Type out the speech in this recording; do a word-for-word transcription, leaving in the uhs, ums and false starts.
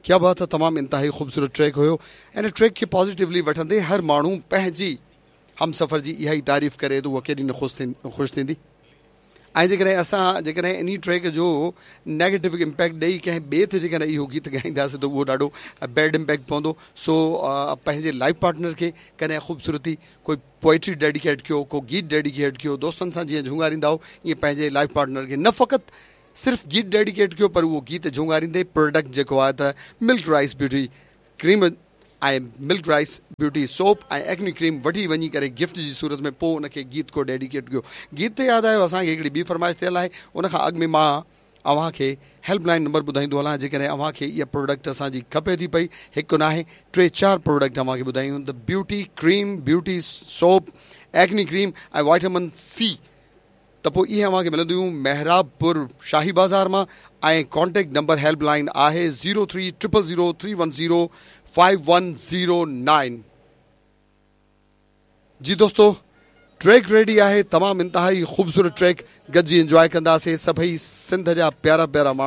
क्या बात है, तमामु इंतिहाई ख़ूबसूरत ट्रैक हुयो। ऐं ट्रैक खे पॉज़िटिवली वठंदे हर माण्हू पंहिंजी हमसफ़र जी इहा ई तारीफ़ करे त उहा केॾी न ख़ुशि थी ख़ुशि थींदी। ऐं जेकॾहिं असां जेकॾहिं इन ट्रैक जो नेगेटिव इम्पैक्ट ॾेई कंहिं ॿिए ते जेकॾहिं इहो गीत ॻाईंदासीं त उहो ॾाढो बैड इम्पैक्ट पवंदो। सो पंहिंजे लाइफ पार्टनर खे कॾहिं ख़ूबसूरती कोई पोइट्री डेडिकेट कयो, को गीत डेडिकेट कयो, दोस्तनि सां जीअं झूंगारींदा हो ईअं पंहिंजे लाइफ पार्टनर खे न फ़क़ति सिर्फ़ु गीत डेडिकेट कयो पर उहो गीत झूंगारींदे प्रोडक्ट जेको आहे त मिल्क राइस ब्यूटी क्रीम ऐं मिल्क राइस ब्यूटी सोप ऐं एक्नी क्रीम वठी वञी करे गिफ्ट जी सूरत में पोइ उनखे गीत को डेडिकेट कयो। गीत ते यादि आयो असांखे हिकिड़ी ॿी फरमाइश थियल आहे, उनखां अॻु में मां अव्हांखे हेल्पलाइन नंबर ॿुधाईंदो हलां। जेकॾहिं अव्हांखे इहा प्रोडक्ट असांजी खपे थी पई, हिकु न आहे टे चारि प्रोडक्ट अव्हांखे ॿुधायूं, त beauty cream, beauty soap, acne cream ऐं वाइटामिन सी, त पोइ इहे अव्हांखे मिलंदियूं मेहराबपुर शाही बाज़ार मां। ऐं कॉन्टेक्ट नंबर हेल्पलाइन आहे zero three triple zero three one zero five one zero nine. जी दोस्तों, ट्रैक रेडी आहे, तमामु इंतिहाई ख़ूबसूरत ट्रैक, गॾिजी इंजॉय कंदासीं। सभई सिंध जा प्यारा प्यारा माण्हू।